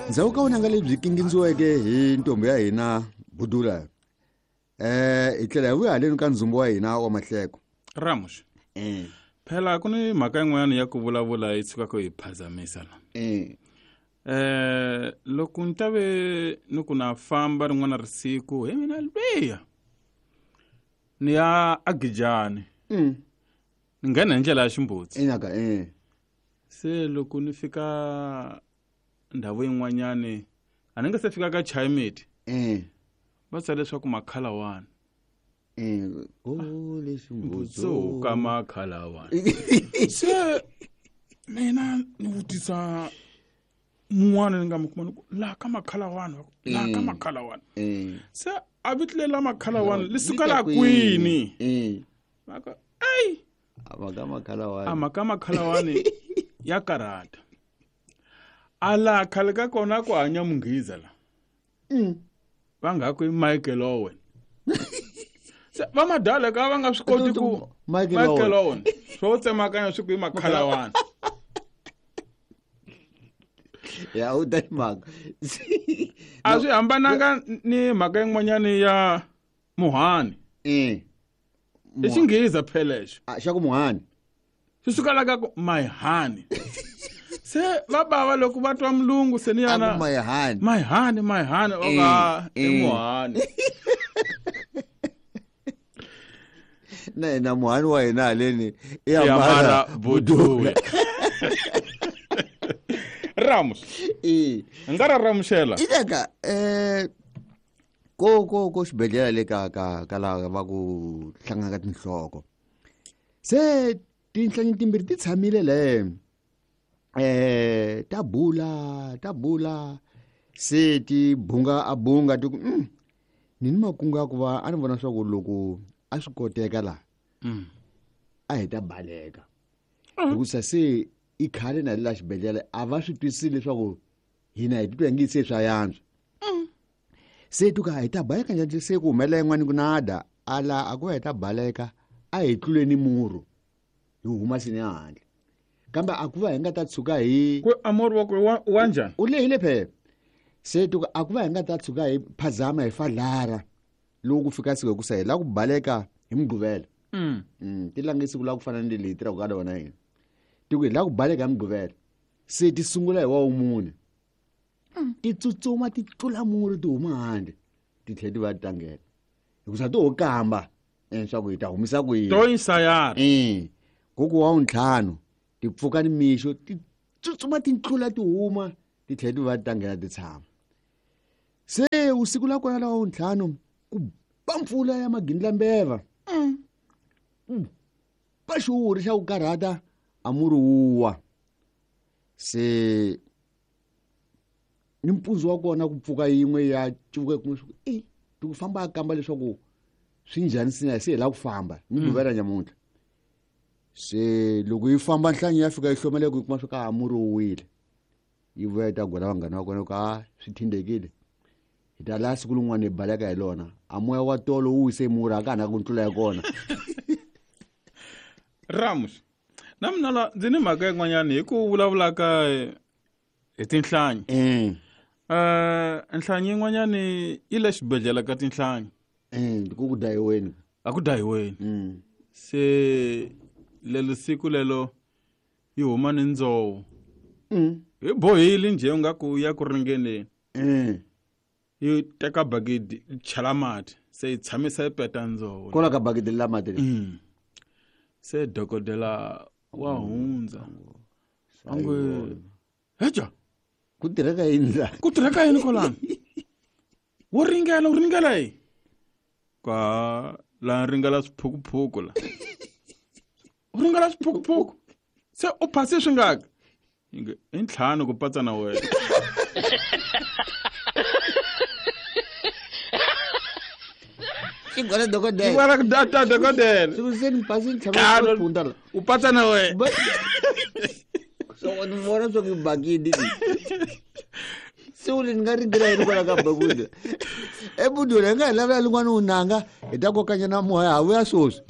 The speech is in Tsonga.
Ndzhaku ka vunanga lebyi kingindziweke hi ntombi ya hina Budula, hi tlhela hi vuya haleni ka ndzumbu wa hina wa mahleko. Ramush. Phela ku ni mhaka yin'wana ya ku vulavula yi tshukaka yi phazamisa la. Loko ni ta ve ni ku na famba rin'wana risiku hi mina lwiya ni ya agijani. Ni nghena hi ndlela ya ximbutsi. Inaka Se loko ni fika ndhawu yin'wanyani a ni nga se fika ka Chayimeti. Va tsale leswaku makhalawani. Mbutso ka makhalawani. Se mina ni vutisa mun'wana ni nga mi kuma ni ku laha ka makhalawani, laha ka makhalawani. Se a vito leri la makhalawani li suka la kwini? Va ku, ey! A mhaka makhalawani. A mhaka makhalawani ya karhata. A laha khale ka kona ku hanya munghiza la. Va nga ku i Michael Owen. Se va madala ka va nga swi koti ku Michael Michael Owen. Owen. Swo tsemakanya swi ku i makhalawani. Ya, u ta mhaka. A swi hambananga ni mhaka yin'wanyani ya muhani. I xinghiza phela lexo. A, xa ku muhani. Swi suka la ka ku my honey. Se va bava loko va twa mulungu se ni yana. A ku my honey. My honey, my honey, o ka i muhani. Na hina muhani wa hina haleni i I Amara Amara Budula. Budula. Ramos. Nga ra ramuxela. Ileka, ko, ko, ko xibedhlele le ka, ka, ka laha va ku hlangana ka tinhloko. Se tinhlanyi timbirhi ti tshamile le. Ta bula, ta bula. Se ti bunga a bunga ti ku, ni ni makungu ya ku va a ni vona swa ku loko a swi koteka la, a hi ta baleka. Hikusa se i khale na le la xibedhlele a va swi twisisi leswaku hina hi titwa hi nge se swa yantswa. Se tuka hi ta baleka njhani se ku humelela yin'wana ku nada ala a ku va hi ta baleka a hi tluleni murhu hi huma sini handle. Kambe a ku va hi nga ta tshuka hi Ku a murhu wa ku wa njhani? U lehile phela. Se tuka a ku va hi nga ta tshuka hi phazama hi fadlara loko ku fika siku ku sa hi la ku baleka hi Mugqivela. Ti lange siku la ku fana ni leyi tirhaka ka rona hina. Ti ku hi la ku baleka hi Mugqivela. Se ti sungula hi wa wumune. Ti tsutsuma ti tlula murhi ti huma handle. Ti tlhela ti va ti tlangela. Hikusa ti ho kamba, leswaku hi ta humisa ku yini. To insayara. Ku wa wuntlhanu, ti pfuka ni mixo, ti tsutsuma ti tlula ti huma, ti tlhela ti va ti tlangela ti tshama. Se usiku la kona la wa wuntlhanu, ku ba mpfula ya magindlambeva. Ku ba xihuhuri xa ku karhata, a murhi wu wa. Se ni mpundzu wa kona ku pfuka yin'we ya cuvuka kuma swa ku, ti ku famba a kamba leswaku swi njhani sina se hi lava ku famba ni guvela nyamuntlha. Se loko yi famba nhlanyi ya fika yi hlomela ku yi kuma swa ka murhi wu wile. Yi vuya yi ta gwela vanghana va kona ku, a swi thindekile. Hi ta laha siku rin'wana hi baleka hi lona. A moya wa tolo wu wise murhi a ka ha na ku tlula ya kona. Ramos, na mina la ndzi ni mhaka yin'wanyana hi ku vulavula ka hi tinhlanyi. Nhlanyi yin'wanyani yi le xibedhlele ka tinhlanyi. Ku ku dayiweni. A ku dayiweni. Se lelo siku lelo yi huma ni ndzoho. Hi bohile njhe u nga ku ya ku ringeneni. Yi teka bakiti yi chela mati se yi tshamisa yi peta ndzoho. Kwala ka bakiti la mati le. Se dokodela wa hundza. A nge, Heja. Ku tirheka yini la? Ku tirheka yini kwalano? Wo ringela, u ringela yini? Ka la ringela swiphukuphuku la. U ringela swiphukuphuku. Se u phase swi ngaka? Inge, i ntlhanu ku patsa na wena. Xigwala dokodela. Xigwala ku data dokodela. Swi se ni phase ntlhanu Ntlhanu. ku phunta la. U patsa na wena. Ba- So ni vona swa ku bakiti. Se u ni nga ringela yini kwala ka bakiti? Ebudula hi nga hi lavela lin'wana u nanga hi ta kokanya na moya ha vuya sweswi.